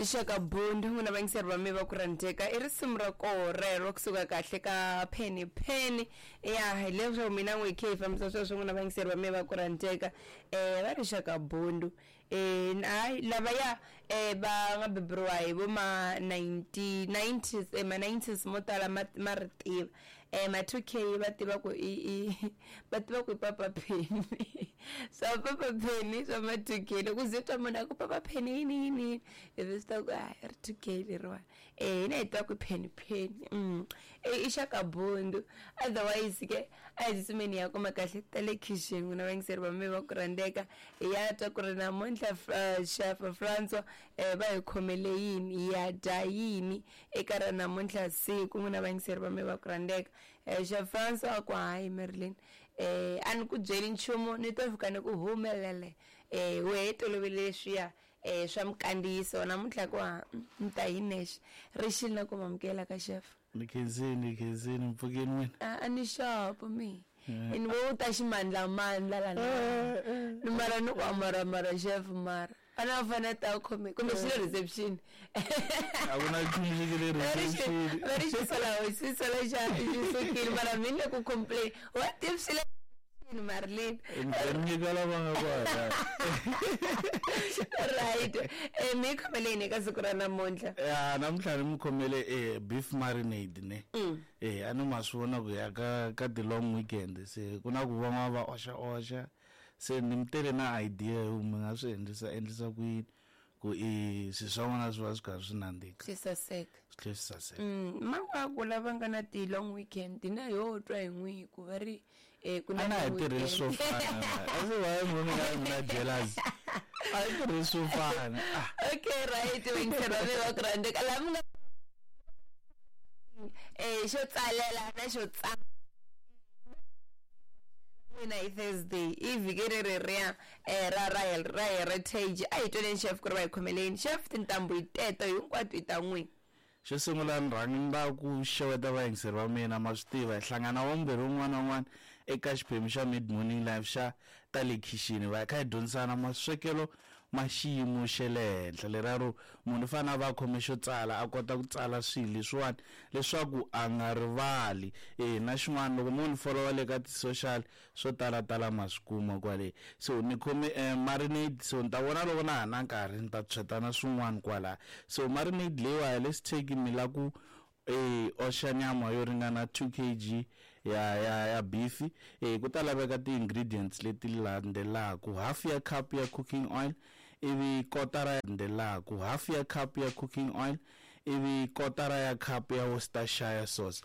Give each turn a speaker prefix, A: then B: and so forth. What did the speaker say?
A: Xaka Bundu, n'wina vayingiseri va me va ku rhandzeka, i risimu ra koho rero kusuka kahle ka Penny Penny. Ya hi leswo mina n'wi khe hi fambisa sweswo, n'wina vayingiseri va me va ku rhandzeka. Va ri Xaka Bundu. Hayi lavaya va nga beburiwa hi vo ma 1990s, ma 90s mo tala ma ri tiva. Ma 2K va tiva ku i i va tiva ku i Papa Penny. Swa Papa Penny swa ma 2K, loko ze twa munhu a ku Papa Penny yini yini yini, ivi swi ta ku a ri 2K leriwani. Hina hi tiva ku i Penny Penny. I Xaka Bundu. Otherwise ke a hi tsutsumeni hi ya kuma kahle ta le khixini, n'wina vayingiseri va me va ku rhandzeka, hi ya twa ku ri namuntlha Chef Francois va hi khomele yini, hi ya dya yini eka ra namuntlha siku, n'wina vayingiseri va me va ku rhandzeka. Chef Francois a ku hayi Marilyn, a ni ku byeli nchumu, ni to fika ni ku humelele. Wehe tolovele leswiya swa minkandziyiso, namuntlha ku ha ni ta hi nexe. Ri xile na ku mamukela ka chef.
B: Ni khensini, ni khensini, mpfukeni n'wina.
A: A ni xopo mi. Ni vo u ta ximandlamandla la ni mara ni ku amaramara chef mara a na fanele ta khome kumbe xi le reception.
B: A ku na nchumu xi nge le reception.
A: Va ri xi sola xi sola xa xi sukile mara mi le ku complain what if xi le Marilyn.
B: Ni nyika lava nga kwala.
A: Right. Mi khomeleni eka siku ra namuntlha?
B: Ya namuntlha ni mi khomele beef marinade ne. A ni ma swi vona ku ya ka ti long weekend, se ku na ku van'wana va oxa oxa, se ni mi tele na idea yo mi nga swi endlisa ku yini ku i swilo swa n'wina swi va swi karhi swi nandzika,
A: swi saseka,
B: swi tlhela swi saseka.
A: Mawaku lava nga na ti long weekend na yo twa hi n'wi ku va ri ku na
B: a na hi
A: long
B: tirhisi swo
A: weekend.
B: fana, a swi va mi nga mi na jealous, a hi tirhisi swo fana.
A: Okay, right, vayingiseri va me va ku rhandzeka, laha mi nga xo tsalela na xo tsala n'wina hi Thursday i vhiki ri reriya ra heritage. A hi twaneni chef ku ri va hi khomeleni. Chef, tintambu hi teto hinkwato i ta n'wina.
B: Xo sungula ni rhanga ni lava ku xeweta vayingiseri va mina, ma swi tiva hi hlangana wambirhi wun'wana na wun'wana eka xiphemu xa Mid Morning Live xa ta le khixini, va kha hi dyondzisana maswekelo ma xiyimo xa le henhla leriya ro munhu u fanele a va a khome xo tsala, a kota ku tsala swilo leswiwani leswaku a nga rivali. Na xin'wana loko mo ni followa le ka ti-social swo talatala ma swi kuma kwale. So ni khome marinade, so ni ta vona loko na ha na nkarhi ni ta tshwetana swin'wana kwala. So marinade leyiwa, let's take mi la ku oxa nyama yo ringana 2 kg ya beef. Ku ta laveka ti-ingredients leti landzelaka: half ya cup ya cooking oil, ivi kotara landzelaka, half ya cup ya cooking oil, ivi kotara ya cup ya Worcestershire sauce.